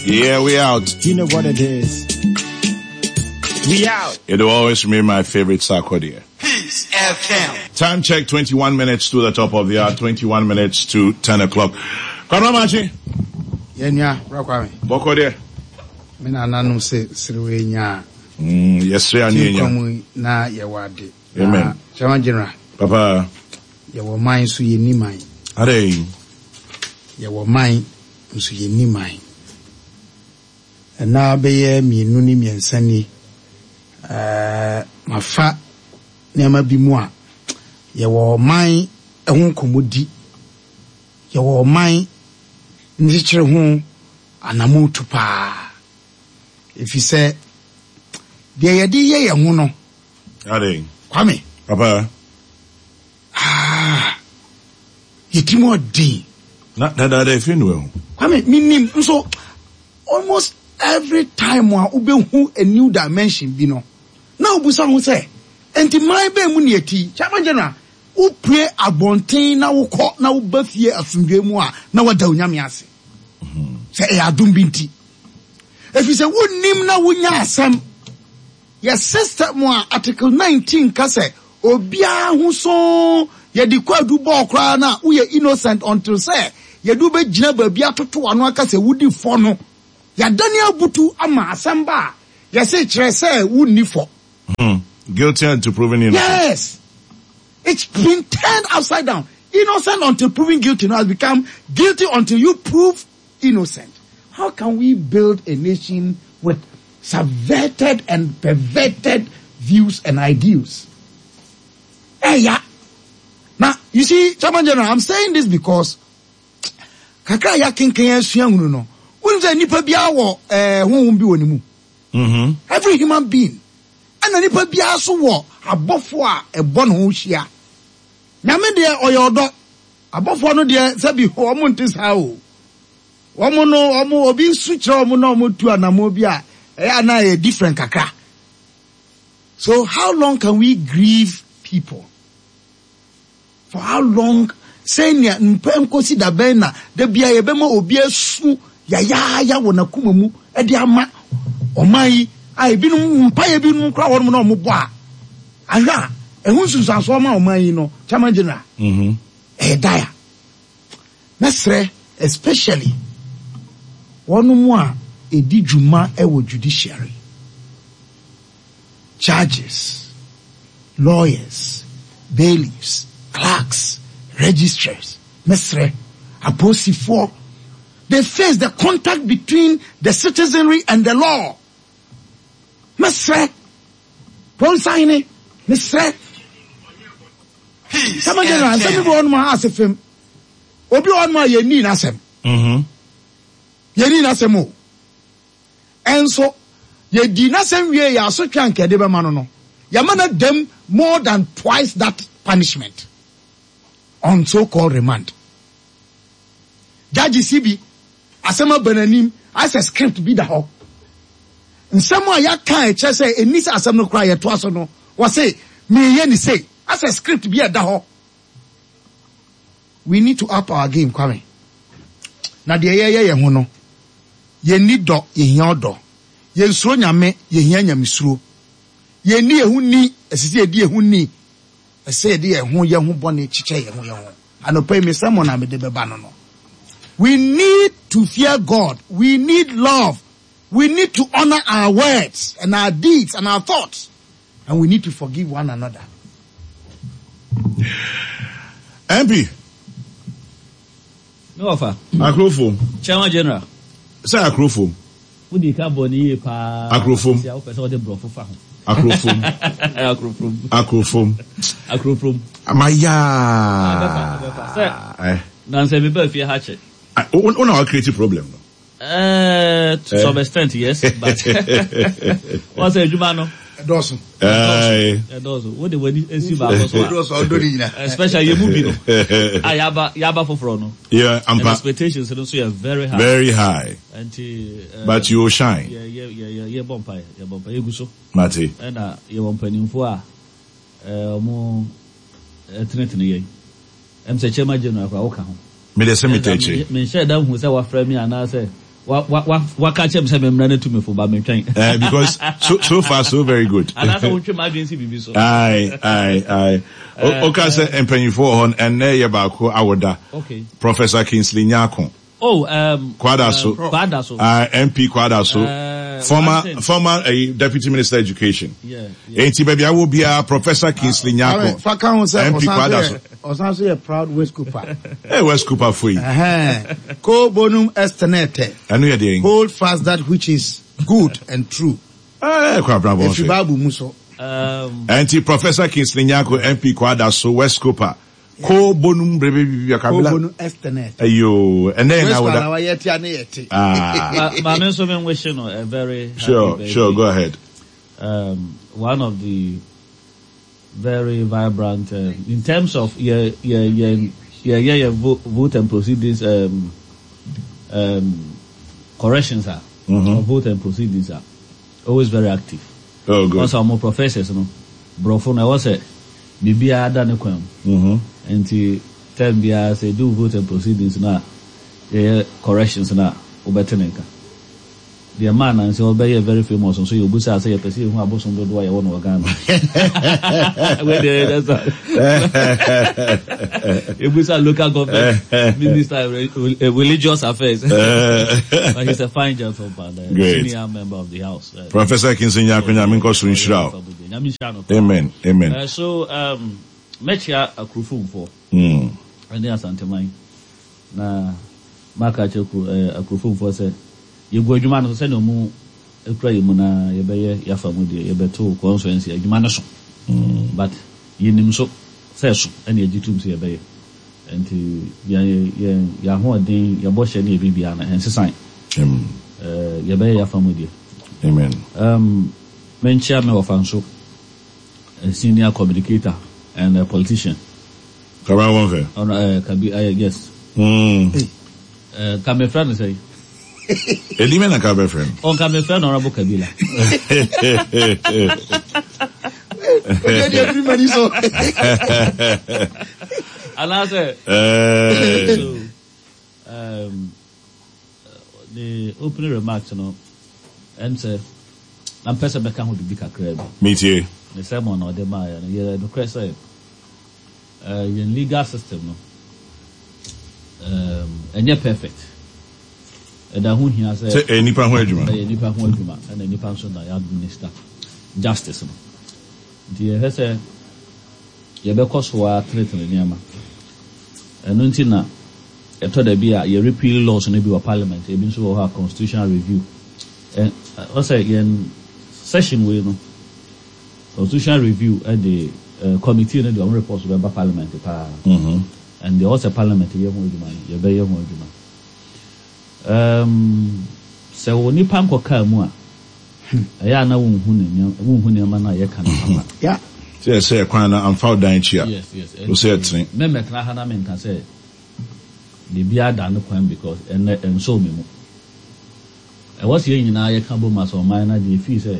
Yeah, we out. You know what it is. We out. It will always remain my favorite Sarkodie. Peace FM. Time check 21 minutes to the top of the hour, 21 minutes to 10 o'clock. Kwabena Machi. Yeah, yeah, Kwame. Boko there. Me na nanom se serewe nya. Yes, sir, anya. Na ye wade. Amen. Chairman General. Papa. Yɛwɔ man nso yɛnni man. Adɛn? Yɛwɔ man nso yɛnni man. Ɛna bɛyɛ mmienu ne mmiɛnsa ni. Ɛɛ mafa nneɛma bi mu a yɛwɔ man ho nkɔmmɔdi. Yɛwɔ ɔman nkyekyere ho anammɔntu paa. Ɛfiri sɛ deɛ yɛde yɛ yɛn ho no. Adɛn? Kwame. Papa. Ah, yɛ tirim ɔden. Na dadaada efi no ehu. Kwame, minim nso almost every time a wobɛhu a new dimension bi no, na wobusa ho sɛ, nti man bɛn mu ne yɛti? Chairman General, wopue abɔnten na wokɔ na woba fie asomdwoe mu a, na wada Onyame ase. Sɛ ɛyɛ adom bi nti. Ɛfiri sɛ wonnim na wonya asɛm. Yɛ system a article 19 ka sɛ obiara ho soo yɛde kwaadu bɔɔ koraa no a woyɛ innocent until sɛ yɛde wo bɛgyina baabi atoto w'ano aka sɛ wodi fɔ no. Yɛadane abutu ama asɛm ba a yɛse kyerɛ sɛ wonni fɔ. Hmm. Guilty until proven innocent. Yes. It's been turned upside down. Innocent until proven guilty now has become guilty until you prove innocent. How can we build a nation with subverted and perverted views and ideals? Hey, yeah. Now, you see, Chairman General, I'm saying this because kakra ya kenken asua hunu no. Wonu sɛ nipa biara wɔ eh honhom bi wɔ ne mu. Every human being. Ɛna nipa biara so wɔ abɔfo a ɛbɔ ne ho hyia. Nyame deɛ ɔyɛ ɔdɔ. Abɔfoɔ no deɛ sɛbi wɔn nte saa o. Wɔn no wɔn obi su kyerɛ wɔn na wɔn tu anamɔ bi a ɛyɛ a na ɛyɛ different kakra. So how long can we grieve people? For how long? Sɛnea mpɛ nkosi da bɛn na da bia yɛbɛma obi asu yayaaya wɔ n'akoma mu de ama ɔman yi a ebinom mpaeɛ binom koraa wɔnom na wɔn bɔ a ahwɛ a ɛho nsunsuansoɔ ma ɔman yi no chairman general ɛyɛ daya mɛsrɛ especially wɔnom a ɛdi dwuma wɔ judiciary judges lawyers bailiffs clerks registrars mɛsrɛ apolisifoɔ they face the contact between the citizenry and the law mɛsrɛ Ponsahene, mesrɛ. Chairman General, nsɛm bi wɔ hɔnom a ase fam. Obi wɔ hɔnom a yɛnnii n'asɛm. Yɛnnii n'asɛm o. Ɛnso, yɛdii n'asɛm wie yɛ asotwe a nka yɛde bɛma no no, yɛama no adam more than twice that punishment on so-called remand. Judges yi bi, asɛm aba n'anim, ayɛ sɛ script bi da hɔ. Nsɛm a yɛaka a ɛkyerɛ sɛ ɛnni sɛ asɛm no koraa yɛtoa so no, wɔse meyɛ ne sei, asɛ script bi a ɛda hɔ. We need to up our game, Kwame. Na deɛ yɛyɛ yɛn ho no, yɛnni dɔ, yɛhia ɔdɔ. Yɛnsuro Nyame, yɛhia Nyamesuro. Yɛnni yɛn ho ni, ɛsɛ sɛ yɛdi yɛn ho ni. Ɛsɛ sɛ yɛde yɛn ho yɛn ho bɔne kyekyɛ yɛn ho yɛn ho. Anɔpa yi me sermon a mede bɛba no no. We need to fear God. We need love. We need to honor our words and our deeds and our thoughts. And we need to forgive one another. MP. Me wɔfa. Akrofo. Chairman General. Sɛ akrofo. Wodi ka bɔ ne yie paa. Akrofom. Sɛ wopɛ sɛ wɔde borɔfo fa ho. Akrofom. Akrofom. Akrofom. Akrofom. Amaya. Ɛbɛfa ɛbɛfa sɛ. Nansɛ mi ba fie ha kyɛ. Wo na wa create problem no. To some extent yes but wɔn sɛ adwuma no. Ɛdɔɔso. Ɛdɔɔso wo de w'ani esi baako so a. Ɛdɔɔso ɔdɔ ne nyina. Especially yɛ mu bi no a yaba yaba foforɔ no. Yeah, ampa. And expectations no nso yɛ very high. Very high. Nti. But you will shine. Yɛ yɛ yɛ yɛ bɔ mpaeɛ yɛ bɔ mpaeɛ yɛ gu so. Mate. Ɛna yɛ wɔ mpanimfoɔ a wɔn ɛtenetene yɛn. Ɛm sɛ Chairman General koraa woka ho. Me deɛ sɛ metɛ akyire. Menhyɛɛ da nhuu sɛ wafrɛ me anaasɛ. Wa wa wa waka kyerɛ me sɛ memmra no tu me fo ba mentwɛn. Eh, because so so far so very good. Anaasɛ wontwe m'adwene si biribi so. Aye, aye, aye. Oka sɛ mpanyinfoɔ wɔ hɔ no, ɛnnɛ yɛ baako awoda. Okay. Professor Kingsley Nyarko. Oh, Kwadaso. Kwadaso. MP Kwadaso. Former, one thing. former Deputy Minister Education. Yeah, yeah. Enti baabi a wɔ biara, Professor Kingsley Nyarko. Fa ka ho sɛ MP ɔsan so Kwadaso. yɛ ɔsan so yɛ proud West Cooper. Hey, West Cooper fo yi. Ɛhɛn. Ko bonum est tenete. Ɛno yɛ deɛn? Hold fast that which is good and true. Eh, Kwabena Ɛfiri Bonfe. Bible mu so. Enti Professor Kingsley Nyarko, MP Kwadaso, West Cooper. Ko bonum brebe bibi Ko kabila. bonum est tenete. Ayo, ɛnɛ yɛ West na Cooper woda. na wayɛ tia ne yɛ te. Ah, Ma me nso me wish no a very happy sure, birthday. sure, go ahead. One of the very vibrant in terms of yeah yeah yeah yeah yeah, yeah vote and proceedings corrections are of vote and proceedings are always very active. Oh, good. Also, more professors no, brofo no was a bibia da ne kwan mu. Nti term biara sɛ do vote and proceedings na yɛyɛ corrections na wobɛte ne nka. Deɛ maa nansi ɔbɛyɛ very famous nso yɛ obusa sɛ yɛpɛ sɛ yɛhu abosom dodoɔ a yɛwɔ no wɔ Ghana. Wei deɛ that's all. Ebusa local government minister of religious affairs. But he's a fine gentleman, Great. senior member of the house. Professor Kingsley Nyarko, Nyame nkɔ so nhyira wo. Nyame nhyira no paa. Amen, amen. So mɛkyia akurofomfoɔ ɛne Asanteman na maka akyerɛ akurofomfoɔ sɛ yɛgu adwuma no so sɛnea ɔmo ekura yɛ mu na yɛbɛyɛ yɛafa mu deɛ yɛbɛto constituency adwuma no so. But yɛnim so sɛ so ɛna yɛgye tom sɛ yɛbɛyɛ. Nti yɛn yɛn yɛn ahoɔden yɛbɔ hyɛ ne yɛ biribiara no ɛnsesan. Amen. Yɛbɛyɛ yɛafa mu deɛ. Amen. Menkyia me wɔfa nso, a senior communicator and a politician. Kabra Bonfe. Ɔno Kabi yes. Ka mefrɛ no sɛ. Edi mɛ na ka bɛfrɛ no. Ɔnka mefrɛ no Honorable Kabila. Oye deɛ firi m'ani so. Anaasɛ. So, the opening remarks no, ɛm sɛ, na mpɛ sɛ mɛka ho biribi kakra bi. Metie. Ne sermon na ɔde maaeɛ no, yɛ nokorɛ sɛ, yɛn legal system no, ɛnyɛ perfect. Ɛda ho hia sɛ Sɛ ɛyɛ nipa ho adwuma. Ɛyɛ nipa ho adwuma, ɛna nipa nso na yɛ administer justice no. Nti yɛhwɛ sɛ yɛbɛkɔ so a tenetene nneɛma. Ɛno nti na ɛtɔ da bi a yɛ repeal laws no bi wɔ parliament, ebi nso wɔ hɔ a constitutional review. Ɔsɛ yɛn session wei no, constitutional review ɛde committee no de ɔmo report bɛba parliament paa. And deɛ ɔsɛ parliament yɛ ho adwuma no, yɛbɛyɛ ho adwuma. Sɛ wo nipa nkɔ kaa mu a, ɛyɛ a na wonhu ne nneɛma, wonhu nneɛma no a yɛka no papa. Yeah. Sɛ ɛsɛ kwan na amfa wo dan akyi a, Yes. wo sɛ ɛtene. Mɛmɛtena ha na menka sɛ biribiara da ne kwan because ɛnɛ ɛnsɔɔ me mu. Ɛwɔ sɛ yɛn nyinaa yɛka bom asɛ ɔman no adeɛ fii sɛ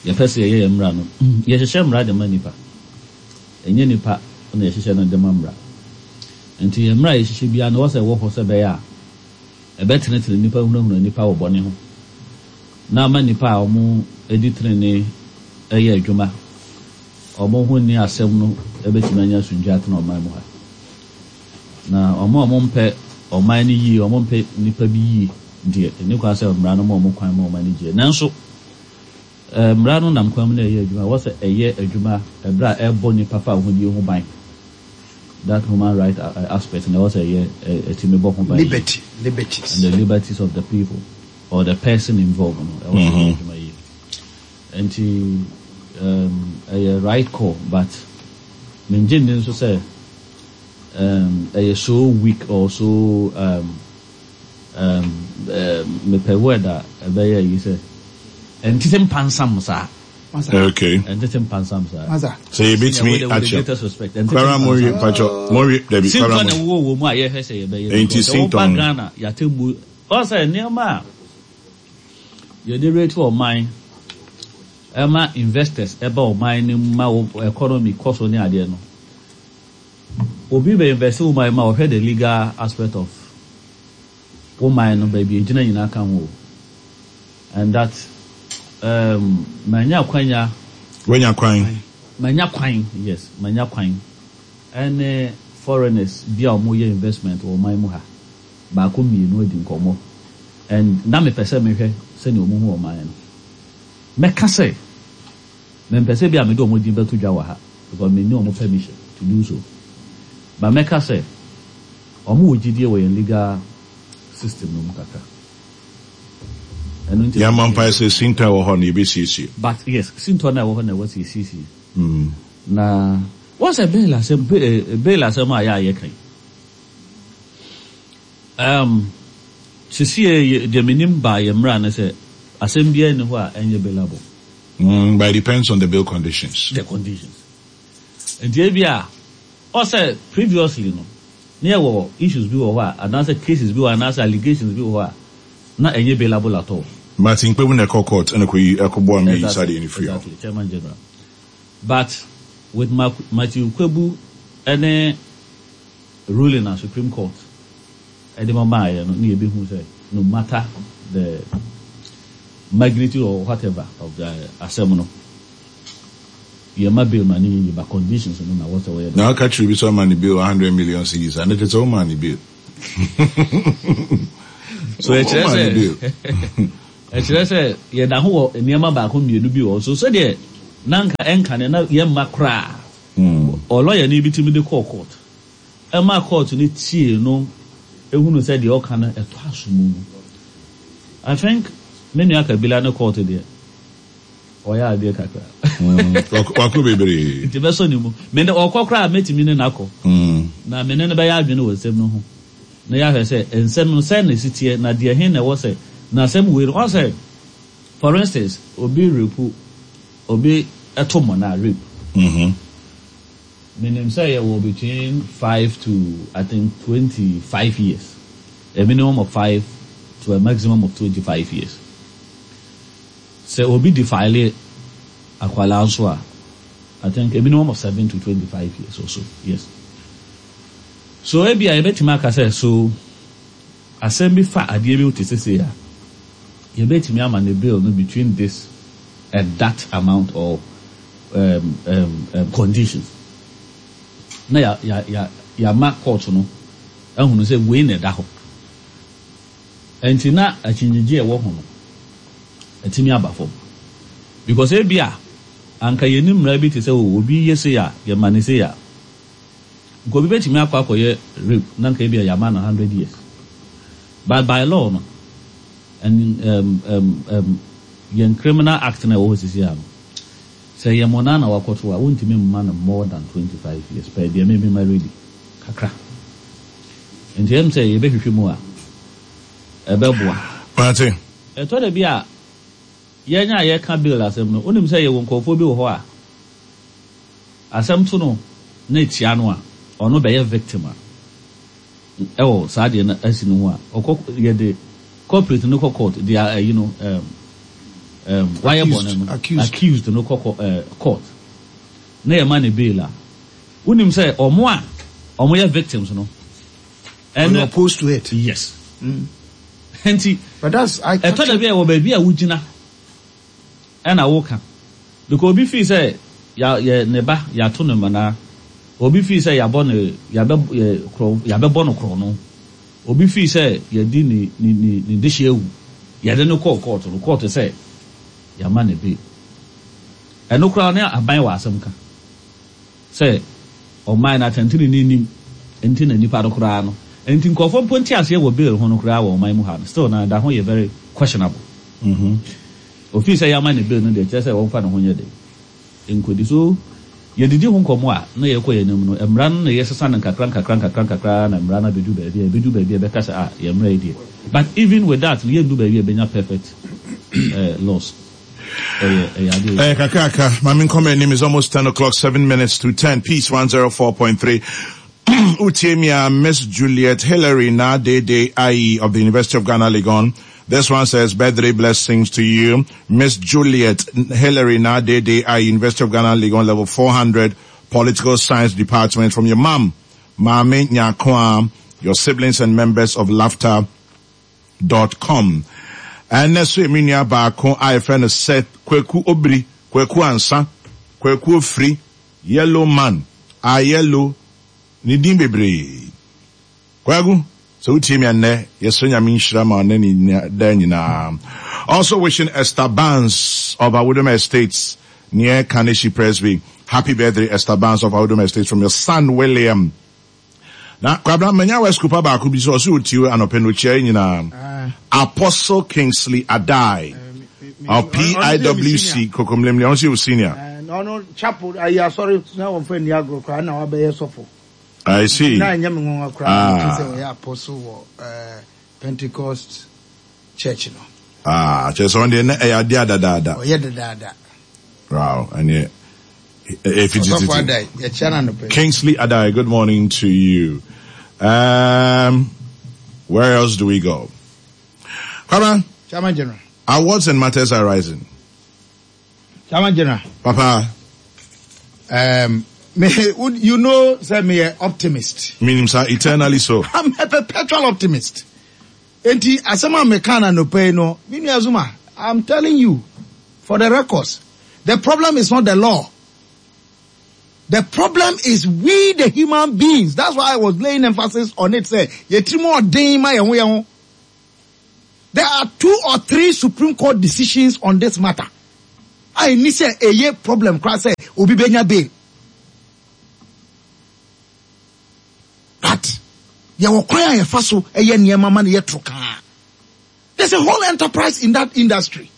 yɛpɛ sɛ yɛyɛ yɛn mmara no. Yɛhyehyɛ mmara de ma nipa. Ɛnyɛ nipa na yɛhyehyɛ no de ma mmara. Nti yɛn mmara a yɛhyehyɛ biara no, ɛwɔ sɛ ɛwɔ hɔ sɛ ɛbɛyɛ a ɛbɛtenetene nipa, hunahuna nipa wɔ bɔne ho, na ama nipa a wɔn adi tenene ɛyɛ adwuma, wɔn ho nni asɛm no ɛbɛtumi anya asomdwoe atena ɔman mu ha. Na wɔn a wɔmpɛ ɔman no yie, wɔn mpɛ nipa bi yie deɛ, ɛni kwan sɛ mmara no ma wɔn kwan ma wɔn ani gye. Nanso, mmara no nam kwan mu na ɛyɛ adwuma. Ɛwɔ sɛ ɛyɛ adwuma ɛberɛ a ɛbɔ nipa fa ahodie ho ban. That human right aspect na ɛwɔ sɛ ɛyɛ ɛtumi bɔ ho ban. Liberty, liberties. And the liberties of the people or the person involved no, ɛwɔ sɛ ɛyɛ adwuma yie. Nti, ɛyɛ right call, but mengye nni nso sɛ ɛyɛ so weak or so mepɛ word a ɛbɛyɛ yi sɛ ɛntete mpansam saa. Okay. Ɛntete mpansam saa. Masa. Sɛ yɛbɛtumi With the akyɛ. greatest respect. Ɛntete Kwara mo wie mpansam. pakyɛ mo wie dabi Sintɔ kwara na mo. ɛwɔ wɔ mu a yɛhwɛ sɛ yɛbɛyɛ. Enti Because sɛ woba sintɔ no. Ghana yɛatemmu ɔsɛ nneɛma a yɛde rate ɔman ɛma investors ɛba ɔman no mu ma wo economy kɔ so ne adeɛ no. Obi bɛ invest wɔ man mu a ɔhwɛ the legal aspect of Wo man no baabi a ɛgyina nyinaa ka ho o. And that um, manya akwanya. Wanya kwan. Manya kwan, yes, manya kwan. Ɛne foreigners bi a wɔyɛ investment wɔ ɔman mu ha, baako mmienu adi nkɔmmɔ. And na mepɛ sɛ mehwɛ sɛnea wɔhu ɔman no. Mɛka sɛ, mempɛ sɛ bi a mede wɔn din bɛto dwa wɔ ha because menni wɔn permission to do so. But mɛka sɛ, wɔwɔ gyidie wɔ yɛn legal system no mu kakra. Ɛno nti na Yɛmmɔ mpaeɛ sɛ sintɔ a ɛwɔ hɔ no yɛbɛsiesie. But yes, sintɔ no a ɛwɔ hɔ no na ɛwɔ sɛ yɛsiesie. Na woahu sɛ bail asɛm, bail asɛm a yɛ a yɛka yi, um, sesie deɛ menim baa yɛn mmara ne sɛ asɛm biara nni hɔ a ɛnyɛ bailable. Mm, but it depends on the bail conditions. The conditions. Nti ebi a, ɔsɛ previously no, na yɛwɔ issues bi wɔ hɔ a, anaasɛ cases bi wɔ hɔ anaasɛ allegations bi wɔ hɔ a, na ɛnyɛ bailable at all. Martin Kpebu na ɛkɔ court ɛna kɔyi ɛkɔboa ma yɛyi saa deɛ no firi hɔ. Exactly, Chairman General. But with Matthew Kpebu ɛne ruling a Supreme Court ɛde ma maaeɛ no, na yɛbɛhu sɛ no matter the magnitude or whatever of the asɛm no, Yɛma bail ma no yɛ yie but conditions no na wɔsɛ wɔyɛ dɛn. Na ɔka kyerɛ obi sɛ ɔma no bail 100 million cedis a, na kyerɛ sɛ womaa no bail. So ɛkyerɛ Womaa sɛ no bail. ɛkyerɛ sɛ yɛda ho wɔ nneɛma baako mmienu bi wɔ hɔ. So sɛdeɛ na anka ɛnkane na yɛmma koraa ɔlɔyani bi tumi de kɔɔ court ɛma court no tiee no hunu sɛ deɛ ɔka no ɛtɔ aso mu no. I think me nua Kabila ne court deɛ Ɔyɛ adeɛ kakra. Wakɔ bebree. Nti mɛsɔ ne mu. Me ne ɔkɔ koraa a mɛtumi ne no akɔ. Na me ne no bɛyɛ adwene wɔ nsɛm no ho. Na yɛahwɛ sɛ nsɛm no sɛn na ɛsi teɛ na deɛ he na ɛwɔ sɛ na asɛm wei no ɔn sɛ for instance obi repu obi to mmɔnaa rape. Menim sɛ yɛwɔ between 5 to I think 25 years. A minimum of 5 to a maximum of 25 years. Sɛ obi defile akwadaa nso a, I think a minimum of 7 to 25 years or so, yes. So ebia yɛbɛtumi aka sɛ so asɛm bi fa adeɛ bi ho te sɛ sei a, yɛbɛtumi ama ne bail no between this and that amount or conditions. Na ya, ya, ya, yɛama court no ahunu sɛ wei na ɛda hɔ. Ɛnti na akyinnyegye a ɛwɔ ho no atumi aba fam. Because ebia anka yɛnni mmara bi te sɛ oh obi yɛ sei a yɛma no sei a, nka obi bɛtumi akɔ akɔyɛ rape na nka ebia yɛama no 100 years. But by law no, and yɛn criminal act no a ɛwɔ hɔ sisi a no, sɛ ɛyɛ mmonnaa na wakɔto a, wontumi mma no more than 25 years pɛ deɛ me mema ready kakra. Nti ɛm sɛ yɛbɛhwehwɛ mu a, ɛbɛboa. Mate. Ɛtɔ da bi a, yɛn a yɛka bail asɛm no, wonim sɛ yɛwɔ nkurɔfoɔ bi wɔ hɔ a, asɛm to no na ɛtia no a, ɔno bɛyɛ victim a, ɛwɔ saa adeɛ no asi no ho a, ɔkɔ, yɛde culprit no kɔ court, deɛ ayi no, ɛɛm, ɛɛm, wayɛ bɔne no, accused no kɔ ɛɛ, court, na yɛma no bail a, Wonim sɛ ɔmo a ɔmo yɛ victims no ɛne. Opposed to it. Yes. Nti But that's I ɛtɔ da bi a ɛwɔ baabi a wogyina ɛna woka because obi feel sɛ ya yɛ ne ba yato no mmanaa, obi feel sɛ yabɔ ne yabɛ yɛ korɔ yabɛbɔ no korɔno, obi feel sɛ yɛdi ne ne ne ne dehye awu, yɛde no kɔɔ court no court sɛ yama no bail. Ɛno koraa ne aban wɔ asɛm ka. Sɛ ɔman no atɛntrenee nnim nti na nnipa no koraa no nti nkurɔfoɔ mpo nteaseɛ wɔ bail ho no koraa wɔ ɔman mu ha no still na ɛda ho yɛ very questionable. Ofii sɛ yɛama no bail no deɛ kyerɛ sɛ wɔmfa ne ho nyɛ den nkɔdi so yɛdidi ho nkɔmmɔ a na yɛkɔ yɛn anim no mmara no na yɛsesa no nkakra nkakra nkakra nkakra ara na mmara no abɛdu baabi a ɛbɛdu baabi a ɛbɛka sɛ ah yɛn mmara yi deɛ but even with that no yɛndu baabi a ɛbɛnya perfect eh, laws. Eh, kakraka, ma me nkɔ m'anim is almost 10 o'clock, 7 minutes to 10. Peace 104.3. Utie me a Miss Juliet Hillary Na Dede Ayi of the University of Ghana, Legon. This one says, birthday blessings to you. Miss Juliet Hillary Na Dede Ayi, University of Ghana, Legon, level 400, Political Science Department from your mom, Mame Nyakwa, your siblings and members of Laughter. dot com. Ɛnnɛ so yɛ me nua baako a yɛfrɛ no Seth Kwaku Obiri, Kwaku Ansa, Kwaku Ofiri, Yellow Man, Ayello, ne din bebree. Kwaku, sɛ wotie me a nnɛ, yɛsrɛ Nyame nhyira ma ɔne ne daa nyinaa. Also wishing Esther Barnes of Awudome Estates near Kaneshie Presby. Happy birthday Esther Barnes of Awudome Estates from your son William. Na Kwabena, manya West Cooper baako bi sɛ ɔsɛ otie anɔpɛ no okyia yɛ nyinaa. Apostle Kingsley Adai of PIWC Kokomlemle, ɔno sɛ yɛ senior. Ɔno chapel ayi asɔre na wɔmfa nni agorɔ koraa na wabɛyɛ sɔfo. I see. Na ɛnyɛ me nwanwa koraa ah. sɛ ɔyɛ apostle wɔ eh, Pentecost church no. Ah, kyerɛ sɛ ɔno deɛ na ɛyɛ adeɛ adadaada. Ɔyɛ dadaada. Wow, ɛneɛ ɛfi tititi. Ɔsɔfo Adai, yɛkyia no anɔpa yi. Kingsley Adai, good morning to you. Where else do we go? Kwabena. Chairman General. Awards and matters arising. Chairman General. Papa. Me, you know, say me a optimist. Meaning, sir, eternally so. I'm a perpetual optimist. Enti asɛm a meka na anɔpa yi no, me nua Zuma, I'm telling you, for the records, the problem is not the law. The problem is we the human beings. That's why I was laying emphasis on it. Say, yɛtiri mu ɔden ma yɛn ho yɛn ho. There are 2 or 3 Supreme Court decisions on this matter. A ɛni sɛ ɛyɛ problem koraa sɛ obi bɛnya bail. But yɛwɔ kwan a yɛfa so yɛ nneɛma ma no yɛ toro kaa. There's a whole enterprise in that industry.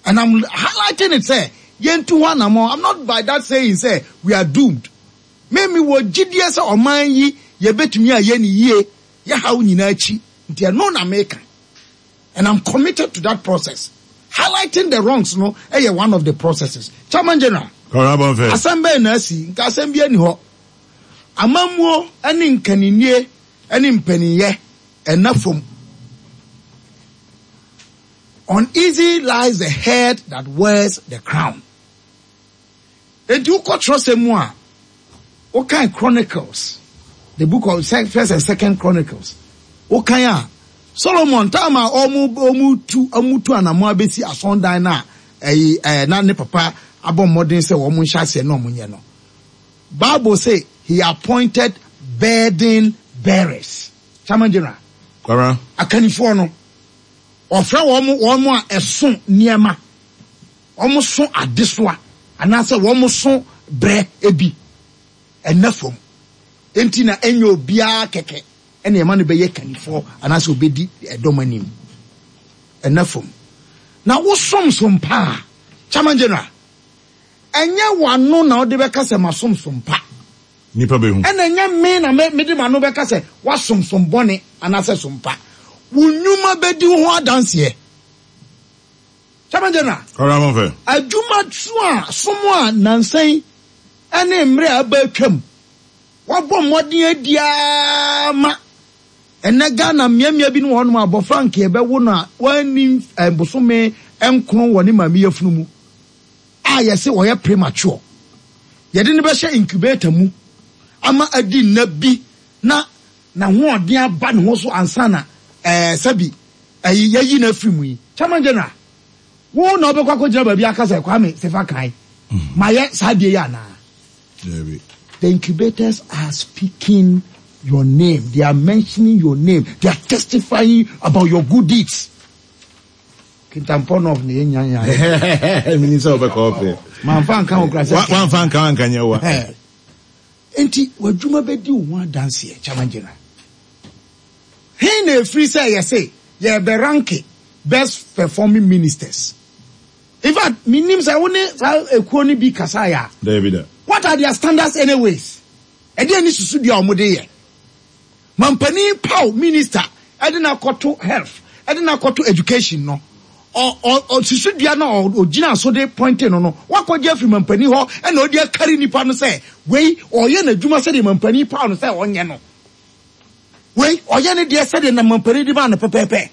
And I'm highlighting it sɛ yɛntu ho anammɔn. I'm not by that saying sɛ we are doomed. Me mewɔ gyidie sɛ ɔman yi yɛbɛtumi ayɛ no yie yɛ haw nyinaa akyi. Nti ɛno na meka. And I'm committed to that process. Highlighting the wrongs no ɛyɛ one of the processes. Chairman General, asɛm bɛn na asi? Nka asɛm bi ani hɔ. Amammuo ne nkaninnie ne mpaninyɛ ɛnna fam. Uneasy lies the head that wears the crown. Enti wokɔ twerɛsɛm mu a, wokan Chronicles, the book of First and Second Chronicles, wokan a, Solomon time a wɔn wɔn tu wɔn tu anamɔ abɛsi asɔndan no a ɛyi ɛɛ na ne papa abɔ mmɔden sɛ wɔn nhyɛ aseɛ na wɔn nyɛ no. Bible say he appointed burden bearers. Chairman General. Kwara. Akannifoɔ no, ɔfrɛ wɔn wɔn a ɛso nneɛma, wɔn so adesoa anaasɛ wɔn so brɛ bi ɛnna fam. Enti na ɛnyɛ obiara kɛkɛ ɛna ɛma no bɛyɛ kannifoɔ anaasɛ obɛdi ɛdɔm anim. Ɛnna fam. Na wosom som paa, Chairman General, ɛnyɛ w'ano na wode bɛka sɛ masom som pa. Nnipa bɛhu. Ɛna ɛnyɛ me na mede m'ano bɛka sɛ woasom som bɔne anaasɛ som pa. Wo nnwuma bɛdi wo ho adanseɛ. Chairman General, Ɔra mo fɛ. adwuma so a som a nnansa yi ne mmerɛ a aba atwam woabɔ mmɔden adi ara ma ɛnnɛ Ghana mmeammea binom wɔ hɔnom a abɔfra nka yɛbɛwo no a wanni bosome nkron wɔ ne maame yafunu mu a yɛse ɔyɛ premature. Yɛde no bɛhyɛ incubator mu ama adi nna bi na n'ahoɔden aba ne ho so ansa na ɛɛ sɛbi ɛyi yɛyi no afiri mu yi. Chairman General, wo na wobɛkɔ akɔgyina baabi aka sɛ Kwame Sefa Kae, mayɛ saa adeɛ yi anaa? Dabi. The incubators are speaking your name. They are mentioning your name. They are testifying about your good deeds. Kintampo North na yɛnya nya. Menim sɛ wobɛkɔ ɔpɛ. Mamfa nka wo kora sɛ. Wamfa nka wo anka nyɛ wa. Nti w'adwuma bɛdi wo ho adanseɛ, Chairman General. He na ɛfiri sɛ yɛse yɛbɛ ranke best performing ministers. In fact, menim sɛ wo ne saa ekuo no bi kasaeɛ a. Dabi da. What are their standards anyways? Ɛdeɛn ne susudua a wɔde yɛ? Mampanin paw minister de no akɔto health, de no akɔto education no, ɔ ɔ ɔ susudua no a ɔgyina so de pointe no no, wakɔgye afiri mampanin hɔ na ɔde akari nipa no sɛ wei ɔyɛ n'adwuma sɛdeɛ mampanin paw no sɛ ɔnyɛ no. Wei ɔyɛ ne deɛ sɛdeɛ na mampanin de maa no pɛpɛɛpɛ.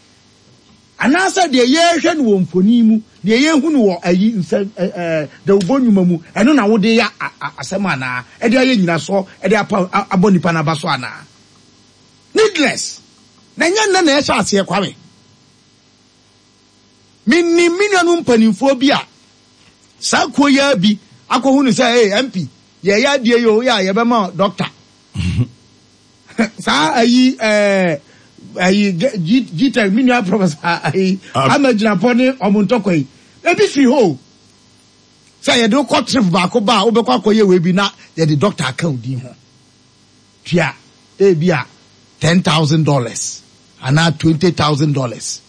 Anaasɛ deɛ yɛrehwɛ no wɔ mfoni mu, deɛ yɛrehu no wɔ ayi nsɛ ɛɛ dawubɔ nnwuma mu, ɛno na wode yɛ asɛm anaa? Ɛde ayɛ nyinasoɔ de apa abɔ nipa no aba so anaa? Needless. Na ɛnyɛ nnɛ na ɛhyɛ aseɛ, Kwame. Menim me nuanom mpanimfoɔ bi a saa kuo yi ara bi akɔhu no sɛ, Hey, MP, yɛreyɛ adeɛ yi o, woyɛ a yɛbɛma wo dɔkta. Saa ayi ɛɛ ayi GTEC, me nua Professor ayi ama gyinapɔ ne ɔmo ntɔkwa yi, ebi firi hɔ o. Sɛ yɛde wo kɔ trip baako ba a, wobɛkɔ akɔyɛ wei bi na yɛde dɔkta aka wo din ho. Tua ebia $10,000 anaa $20,000.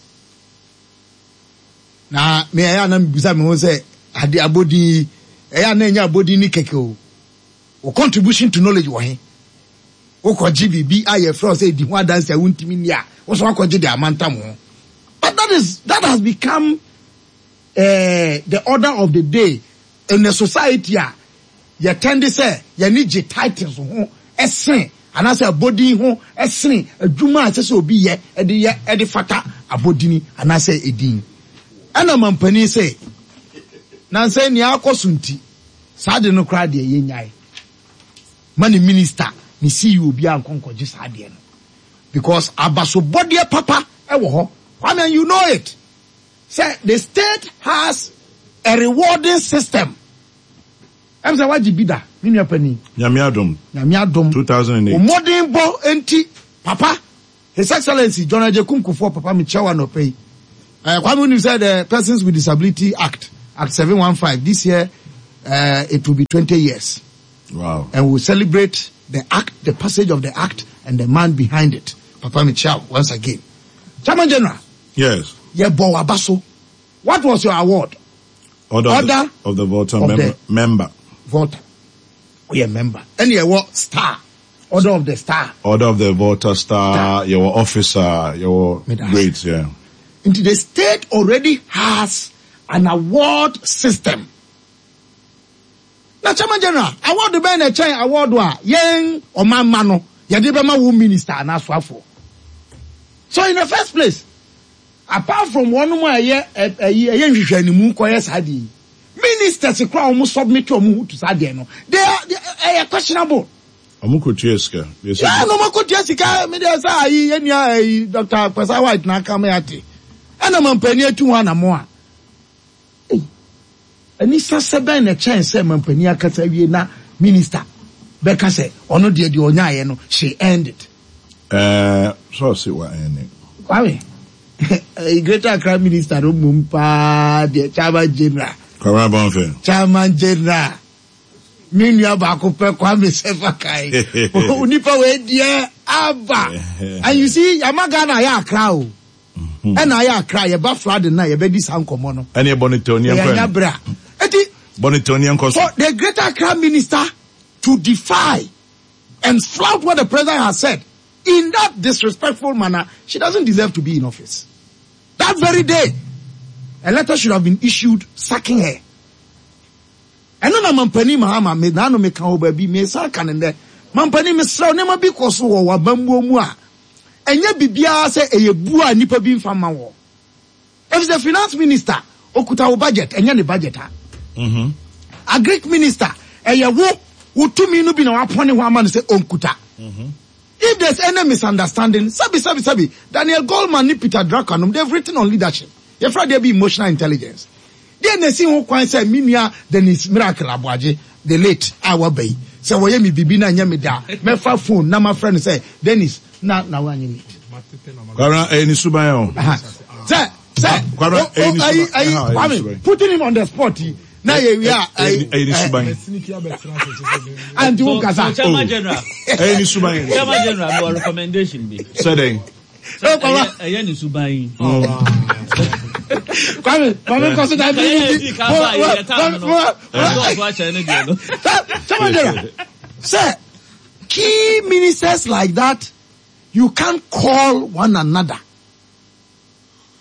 Na me ɛyɛ a na mebisa me ho sɛ ade abɔdin yi ɛyɛ a na ɛnyɛ abɔdin ni kɛkɛ o. Wo contribution to knowledge wɔ he? Wokɔgye biribi a yɛfrɛ wo sɛ di ho adanse a wontumi nni a, wo so akɔgye de amantam ho. But that is that has become uh, the order of the day in a society a yɛtɛnde sɛ yɛne gye titles ho ɛsen anaasɛ abɔdin ho sene adwuma a ɛsɛ sɛ obi yɛ de yɛ de fata abɔdini anaasɛ edin. Ɛna mampanin se, nansa yi nea akɔ so nti, saa ade no koraa deɛ yɛnnyae. Ma ne minister, ne CEO biara nkɔ nkɔgye saa adeɛ no. Because abasobɔdeɛ papa wɔ hɔ. Kwame, and you know it, sɛ the state has a rewarding system. Ɛm sɛ wagye bi da, me nua panin. Nyame adom. Nyame adom. 2008. Wo mmɔden bɔ nti, papa, His Excellency John Agyekum Kufuor, papa mekyia wo anɔpa yi. Eh, Kwame wonim sɛ the Persons with Disability Act, Act 715, this year uh, it will be 20 years. Wow. And we'll celebrate the act, the passage of the act and the man behind it. Papa mekyia wo once again. Chairman General. Yes. Yɛbɔ w'aba so. What was your award? Order, of the, of the Volta of member, the member. Volta. Woyɛ member. Ɛne ɛwɔ star. Order of the star. Order of the Volta star. Star. Yɛwɔ officer. Yɛwɔ grades. Yeah. Nti the state already has an award system. Na Chairman General, award bɛn na ɛkyɛn award a yɛn ɔmanma no yɛde bɛma wo minister anaa asoafoɔ? So in the first place, Apart from wɔnom a ɛyɛ ɛyi ɛyɛ nhwehwɛanimu kɔyɛ saa adeɛ yi, ministers koraa a wɔn submit wɔn ho to saa adeɛ no, they are they ɛyɛ questionable. Wɔn kɔ tua sika. Yeah, na wɔn akɔ tua sika. Mi deɛ sɛ ayi yɛn nua ayi Dr. Kwesa White na aka mi ate. Ɛna mampanin atu ho anamo a. Ei, anisasɛ bɛn na ɛkyɛn sɛ mampanin akasa awie na minister bɛka sɛ ɔno deɛ deɛ ɔnyaeɛ no, she earned it. Ɛɛ, sɛ ɔse wa earn it. Kwame, ɛyi Greater Accra minister no mmom paa deɛ Chairman General. Kwame Abɔnfɛ. Chairman General. Me nua baako pɛ Kwame Sefa Kayi. Onipa wei deɛ aba. And you see, yama Ghana ayɛ Accra o. Ɛna ayɛ Accra, yɛba flooding na yɛbɛdi saa nkɔmmɔ no. Ɛne ɛbɔ ne tɛw ne ɛnkɔ. Yɛnya berɛ a. Eti. Bɔ ne tɛw ne ɛnkɔ so. For the Greater Accra minister to defy and flout what the president has said in that disrespectful manner, she doesn't deserve to be in office. That very day, a letter should have been issued sacking her. Ɛno na Mampanin Mahama, me naano meka wɔ baabi, mesan ka no nnɛ. Mampanin, mesrɛ wo, nneɛma bi kɔ so wɔ w'abammuo mu a, ɛnyɛ biribiara sɛ ɛyɛ buo a nnipa bi mfa mma woɔ. Efisɛ finance minister okuta wo budget, ɛnyɛ ne budget a. Mm-hmm. Agric minister, ɛyɛ wo, wo tumi no bi na wapɔne hɔ ama no sɛ onkuta. Mm-hmm. If there's any misunderstanding, sabi sabi sabi, Daniel Goleman ne Peter Drucker nom, they've written on leadership. Yɛfrɛ adeɛ bi emotional intelligence. Deɛ na esi ho kwan sɛ me nua Dennis Miracle Aboagye, the late, a waba yi, sɛ wɔyɛ me biribi na ɛnyɛ me dɛ a, mɛfa phone na mafrɛ no sɛ, Dennis, na na wanyɛ late. Kwabena, ɛyɛ ne suban o. Sɛ, sɛ, Kwabena, ɛyɛ ne suban. Ayi, ayi, Kwame, putting him on the spot yi, na yɛ wi a, ayi. Ɛyɛ ne suban. Anti wo kasa. Chairman General. Ɛyɛ ne suban. Chairman General, mi wɔ recommendation bi. Sɛ dɛn? Ɛyɛ ne suban yi. Kwame, Kwame nkɔ so da bi. Ɛyɛ di ka ba yɛ tam no. Ɔdɔɔso akyɛ ne deɛ no. Chairman General, sɛ key ministers like that, you can't call one another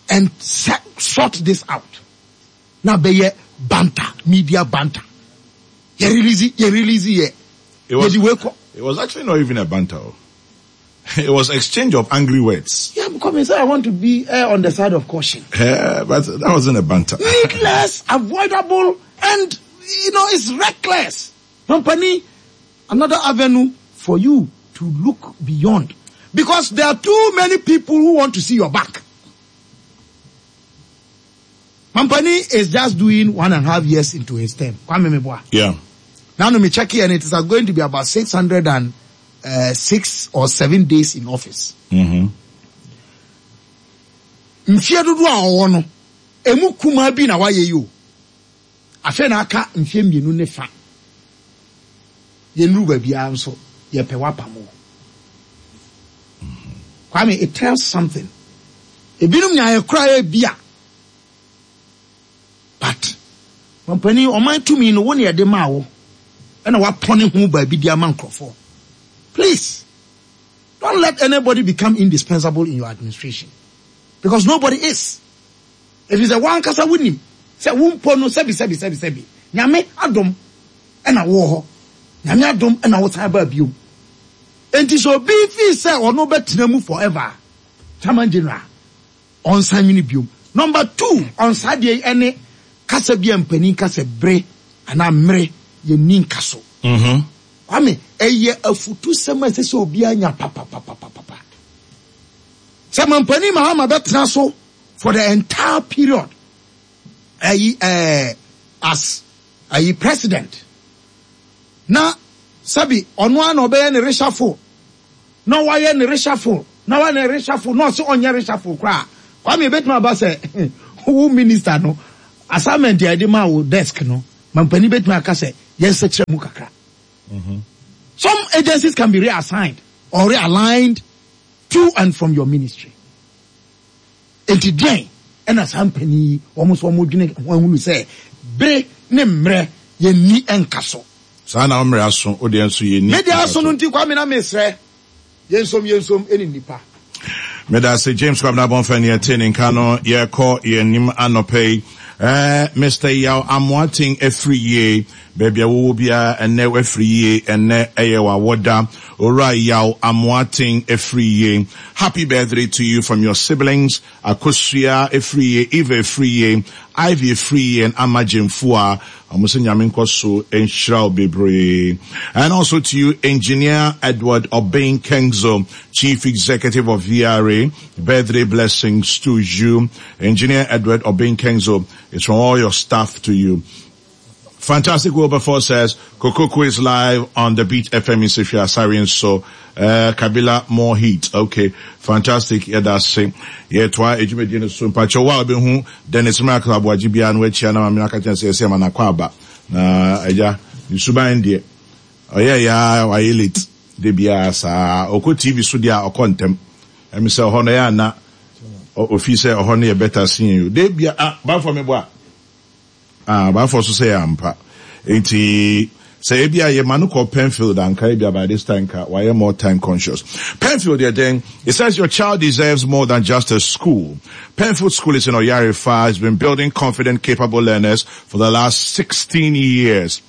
and sort this out. Na bɛyɛ banter, media banter. Yɛ release, yɛ release yɛ. Yɛ di wei kɔ. It was actually not even a banter. It was exchange of angry words. Yeah, because me say I want to be uh, on the side of caution. Yeah, but that wasn't a banter. Needless, avoidable, and you know it's reckless. Company, another avenue for you to look beyond, because there are too many people who want to see your back. Mampani is just doing 1.5 years into his term. Kwame Meboa. Yeah. Now, no, me check here, and it is going to be about 606 or 7 days in office. Mfie dodoɔ a ɔwɔ no, emu kumaa bi na wayɛ yi o. Afei na aka mfie 2 ne fa. Yɛnnuru baabiara nso, yɛpɛ wapam o. Kwame, it tells something. Ebinom nyaeɛ koraa ebi a. But, mampanin, ɔman tumi no, wo na yɛde maa wo, ɛna wapɔne ho baabi de ama nkurɔfoɔ. Please, don't let anybody become indispensable in your administration. Because nobody is. Ɛfiri sɛ w'ankasa wonim sɛ wo mpo no sɛbi sɛbi sɛbi sɛbi, Nyame adom ɛna wowɔ hɔ. Nyame adom ɛna wosan baa biom. Enti sɛ obi fii sɛ ɔno bɛtena mu forever a, Chairman General, ɔnsan nwene biom. Number 2, on saa deɛ yi ɛne kasa bi a mpanin ka sɛ bere anaa mmere yɛnni nka so. Kwame, ɛyɛ afutusɛm a ɛsɛ sɛ obiara nya papapapapapa. Sɛ mampanin Mahama bɛtena so for the entire period ayi as ayi president na sɛbi ɔno ara na ɔbɛyɛ ne reshuffle na wayɛ ne reshuffle na wayɛ ne reshuffle na ɔsɛ ɔnyɛ reshuffle koraa. Kwame, ebetumi aba sɛ wo minister no assignment a yɛde maa wo desk no, mampanin betumi aka sɛ yɛnsɛkyerɛ mu kakra. Some agencies can be reassigned or realigned to and from your ministry. Enti deɛn ɛna saa mpanin yi wɔn nso wɔn dwene ho ahunu sɛ bere ne mmerɛ yɛnni nka so. Saa na wo mmerɛ aso, wo deɛ nso yɛnni Me deɛ aso no nti Kwame na mesrɛ yɛnsom yɛnsom ɛne nnipa. Medase James Kwabena Bonfɛ ne yɛte ne nka no yɛkɔ yɛn anim anɔpa yi. Eh, Mister Yaw Amoaten afiri yie baabi a wowɔ biara ɛnɛ wafiri yie ɛnɛ ɛyɛ w'awoda. Owura Yaw Amoaten afiri yie. Happy birthday to you from your siblings Akosua afiri yie, Eva afiri yie, Ivy afiri yie and Ama Gyamfua. Ɔmo sɛ Nyame nkɔ so nhyira wo bebree. And also to you Engineer Edward Obeng Kengzo, Chief Executive of VRA. Birthday blessings to you. Engineer Edward Obeng Kengzo, it's from all your staff to you. Fantastic Wilberforce says, Kokoku is live on the Beat FM in Sefwi Asari so, Kabila more heat. Okay. Fantastic. Yeah, that's it. Yeah, twa ejumedi no so. Mpacho wa obi hu Dennis Miracle Aboagye bia no achia na mame aka kyerɛ sɛ yɛsɛ ma na kwa aba. Na agya, ne suban deɛ. Ɔyɛ ya wayɛ late. De bia saa. Ɔkɔ TV so deɛ a ɔkɔ ntɛm. Ɛmi sɛ ɔhɔ no yɛ ana ofi sɛ ɔhɔ no yɛ better sin yo. De bia ah bafo me boa. Ah, bafo so sɛ yɛ ampa. Enti sɛ ebi a yɛ ma no kɔ Penfield anka ebi a by this time ka wayɛ more time conscious. Penfield yɛ dɛn? It says your child deserves more than just a school. Penfield School is in Oyarifa. It's been building confident, capable learners for the last 16 years.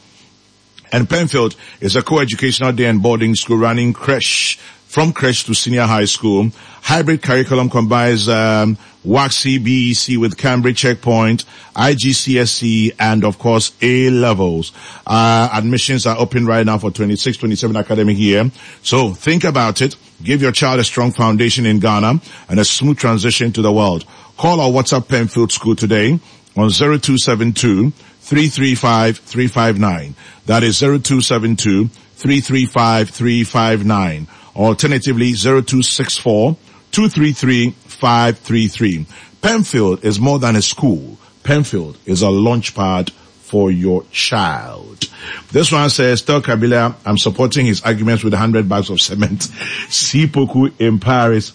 And Penfield is a co-educational day and boarding school running creche, from creche to senior high school. Hybrid curriculum combines WACSI, BEC with Cambridge Checkpoint, IGCSE, and of course A levels. Admissions are open right now for 26-27 academic year. So think about it. Give your child a strong foundation in Ghana and a smooth transition to the world. Call or WhatsApp Penfield School today on 0272-335-359. That is 0272-335-359. Alternatively, 0264-233-533. Penfield is more than a school. Penfield is a launch pad for your child. This one says, tell Kabila, I'm supporting his arguments with 100 bags of cement. Sipoku in Paris.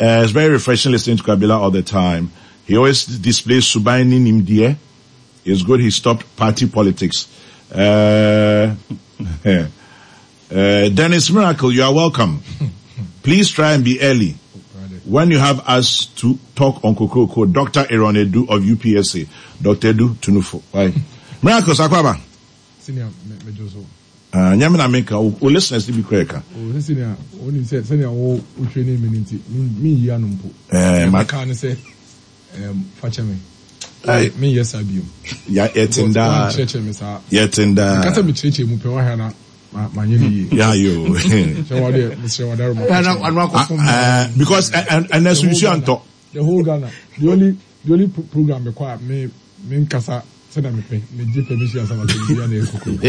It's very refreshing listening to Kabila all the time. He always displays Subaini Nimdie. It's good he stopped party politics. Dennis Miracle, you are welcome. Please try and be early. When you have us to talk on Kokroko, Dr. Aaron Edu of UPSA. Dr. Edu Tunufo. Bye. Miracles, Akwaba. Senior, me Joso. Nyame na menka, o listeners ni bi kura ka. O senior, o ni se senior wo o training me nti, me yi ano mpo. Ma ka ne se fa kyɛ me. Me yɛ sa bio. Ya yetinda. Kyerɛkyerɛ me saa. Yetinda. Kasa me kyerɛkyerɛ mu pɛ wa hwɛ na ma nyɛ ne yie. Ya yo. Kyɛ wa de mesrɛ wa daro ma. Because and and so you see anto. The whole Ghana. The only The only program mekɔ a me me nkasa sɛnea mepɛ, megye permission ansa na sɛ biribi na ɛyɛ kokoroko.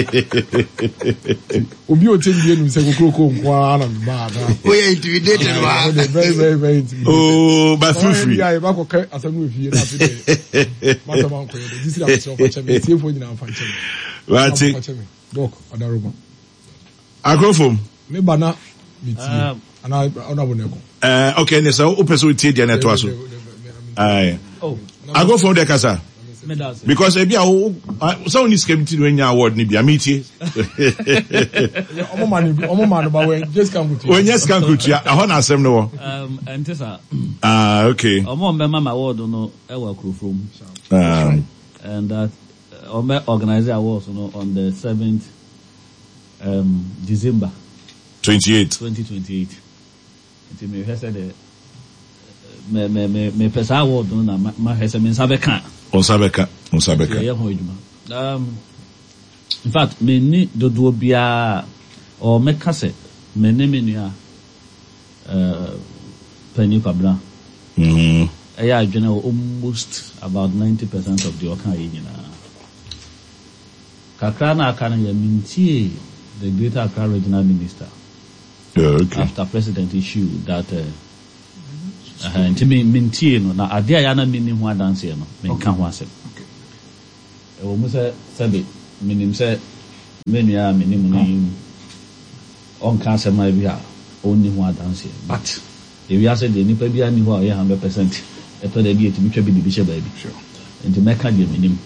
Obi a ɔtie me bi anim sɛ kokoroko nko ara na meba a na. Woyɛ intimidated wa. Very very very intimidated. Oh, but feel free. Yɛ ba kɔkɛ asɛm no wɔ fie na afei dɛ masɛm ankɔyɛ dɛ gyesi na mesrɛ ɔfa kyɛ me tiefoɔ nyinaa mfa nkyɛ me. Wate. Ɔfa kyɛ me. Doc Adaroma. Akorofom. Me ba na me tie. Ana ɔna bo na ɛkɔ. Eh, okay, ne sɛ wopɛ sɛ wotie deɛ na ɛtoa so. Aye. Akorofom deɛ kasa. Because ebi a wo sɛ wonni sika bi ti na wanya award no bi a metie. Ɔmo ma no bi, ɔmo ma no ba wɔ gye sika nkotua. Wɔnyɛ sika nkotua, ɛhɔ na asɛm no wɔ. Ɛnte saa. Ah, okay. Ɔmo ɔmbɛma ma award no ɛwɔ akurofrom. Ah. And that ɔmbɛ organize awards no on the 7th December. 28. 2028. Nti mehwɛ sɛ dɛ me me me mepɛ saa award no na mahwɛ sɛ me nsa bɛka. Wo nsa bɛka, wo nsa bɛka. Yɛyɛ ho adwuma. Um, in fact, menni dodoɔ biara or mɛka sɛ me ne me nua uh, Panyin Kwabena ɛyɛ adwene wɔ almost about 90% of deɛ ɔka yɛ nyinaa. Kakra na aka no yɛ mentie the Greater Accra Regional Minister. Yeah, okay. After president issue that uh, uh, nti me mentie no na adeɛ a yɛ na menni ho adanseɛ no menka ho asɛm. Ɛwɔ mu sɛ sɛbe menim sɛ me nua a menim no yi ɔnka asɛm a bi a ɔnni ho adanseɛ but ewiase deɛ nipa bi anni hɔ a ɔyɛ 100% ɛtɔ da bi ɛtumi twa bi de bi hyɛ baabi nti mɛka deɛ menim.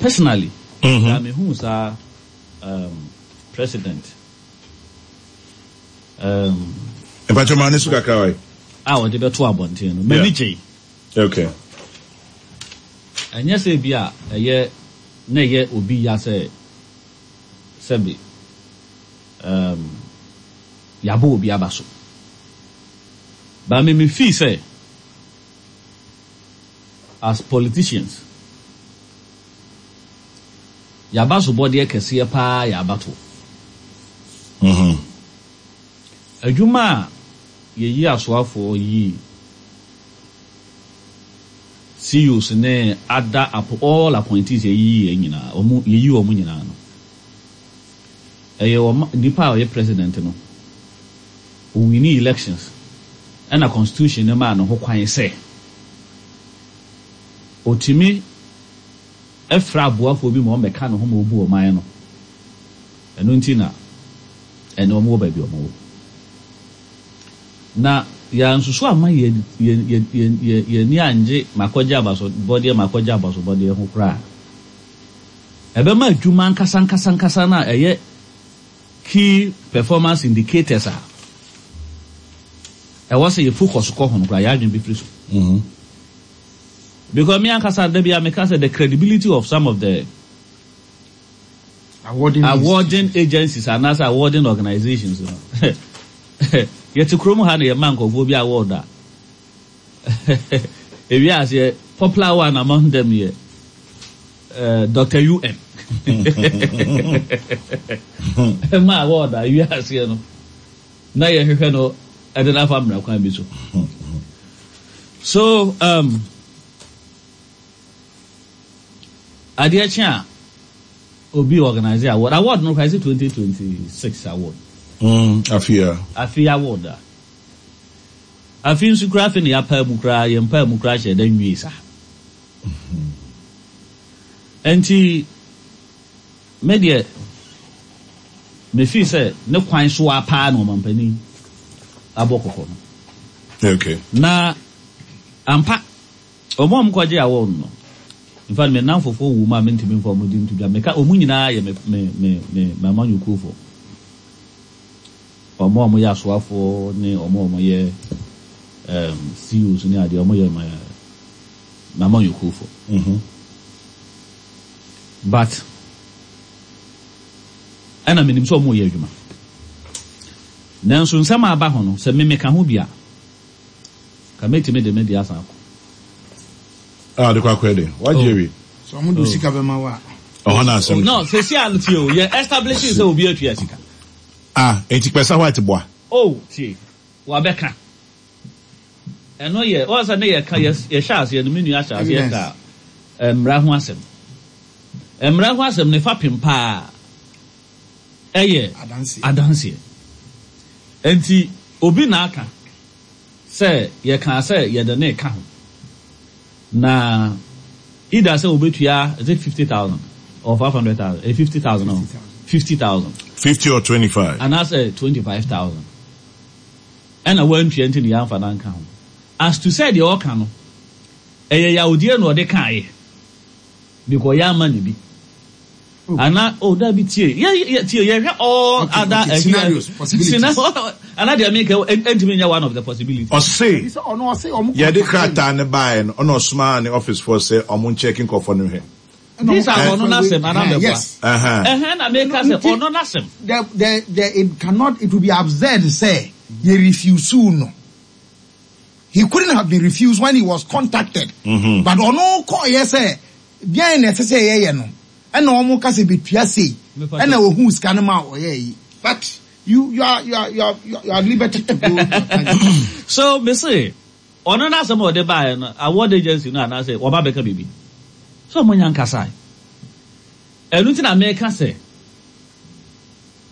Personally, na mehuu saa president Mpakyɛ maa ne so kakra wae. A wɔde bɛto abɔnten no, m'ani gyei. Okay. Ɛnyɛ sɛ bi a ɛyɛ na ɛyɛ obi ya sɛ sɛbe um, yɛabɔ obi aba so. But me me feel sɛ as politicians, yɛabasobɔdeɛ kɛseɛ paa yɛ abatoɔ. Adwuma a yɛyi asoafoɔ yii CEOs ne other all appointees yɛyiyi yɛn nyinaa, wɔn yɛyi wɔn nyinaa no, ɛyɛ wɔn nipa a ɔyɛ president no, owini elections ɛna constitution no maa no ho kwan sɛ Otumi frɛ aboafoɔ bi ma wɔbɛka ne ho ma ɔbu ɔman no. Ɛno nti na ɛnnɛ wɔwɔ baabi a wɔwɔ. Na yɛansusu amma yɛn yɛn yɛn yɛn yɛn yɛn ani angye makɔgye abasobɔdeɛ makɔgye abasobɔdeɛ ho koraa a, ɛbɛma adwuma ankasa ankasa ankasa no a ɛyɛ key performance indicators a ɛwɔ sɛ yɛ focus kɔ ho no koraa, yɛn adwene bɛfiri so. Because me ankasa da bi a meka sɛ the credibility of some of the Awarding awarding agencies anaasɛ awarding organizations no, yɛte kurom ha na yɛma nkurɔfoɔ bi award a, ewie aseɛ popular one among them yɛ Doctor UN ma award a ewie aseɛ no na yɛhwehwɛ no ɛde no afa mmara kwan bi so. So adeɛ kye a obi organize award, award no koraa ɛsɛ 2026 award. Afe a. Afe award a. Afe nso koraa afe na yɛapaa mu koraa, yɛn paa mu koraa hyɛ da nwie saa. Enti me deɛ me feel sɛ ne kwan so ara paa na ɔmampanin abɔ kɔkɔ no. Okay. Na ampa wɔn a wɔkɔgye award no, in fact me nnamfofoɔ wɔ mu a mentumi mfa wɔn din nto dwa. Meka wɔn nyinaa yɛ me me me me m'amanyɔkuofoɔ. Wɔn a wɔyɛ asoafoɔ ne wɔn a wɔyɛ um, CEOs ne adeɛ wɔyɛ me m'amanyɔkuofoɔ. But ɛna menim sɛ wɔreyɛ adwuma. Nanso nsɛm a aba ho no, sɛ me meka ho bi a, ka mɛtumi de me deɛ asan akɔ. Ah, de kɔ akɔyɛ dɛn? Wagye awie. So wɔn de sika bɛma wo a. Ɔhɔ na asɛm. No, sɛsi a no tie o, yɛ establish sɛ obi atua sika. Ah, enti Kpɛsa White boa? Oh, tie, wabɛka. Ɛno yɛ, wɔn sɛ ne yɛ ka yɛ yɛhyɛ aseɛ no me nua hyɛ aseɛ ka mmara ho asɛm. Mmara ho asɛm ne fapem paa ɛyɛ adanseɛ. Nti obi na aka sɛ yɛkaa sɛ yɛde ne ka ho na either sɛ obetua, is it 50,000 or 500,000? 50,000 or 50,000. 50 or 25. Anaasɛ 25,000. Ɛna wantua nti na yɛamfa no anka ho. As to sɛ deɛ ɔka no, ɛyɛ yawdeɛ na ɔde kaeɛ because yɛamma no bi. Ana, oh dabi tie, yɛ yɛ tie yɛhwɛ all Okay, other okay, scenarios, possibilities. Scenario, ana deɛ meka ɛntumi nyɛ one of the possibilities. Ɔse Ebi sɛ ɔno ɔse ɔmo yɛde contact krataa no baeɛ no ɔna ɔsomaa ne office foɔ sɛ ɔmo nkyɛke nkurɔfoɔ no nhwɛ. Ɛna ɔmo These are ka ɔno sɛ wei n'asɛm anaa ɛhɛn mɛboa. yes. Ɛhɛn na meka Ɛno sɛ nti ɔno n'asɛm. the it cannot, it will be absurd sɛ yɛ refuse no. He couldn't have been refused when he was contacted. But ɔno kɔɔyɛ sɛ deɛn na ɛsɛ sɛ yɛyɛ no ɛna ɔmo ka sɛ betua sei ɛna ohuu sika no ma ɔyɛɛ yi. But you are you are you are you are liberty to go your tangent. So me se ɔno n'asɛm a ɔde baeɛ no award agency no anaasɛ wɔba bɛka biribi sɛ ɔmo nya nkasae. Ɛno nti na meka sɛ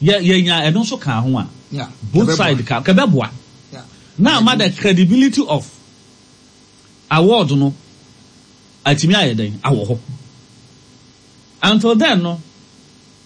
yɛ yɛnya ɛno nso ka ho a both side ka kɛbɛboa na ama the credibility of award no atumi ayɛ dɛn awɔ hɔ. Until then no.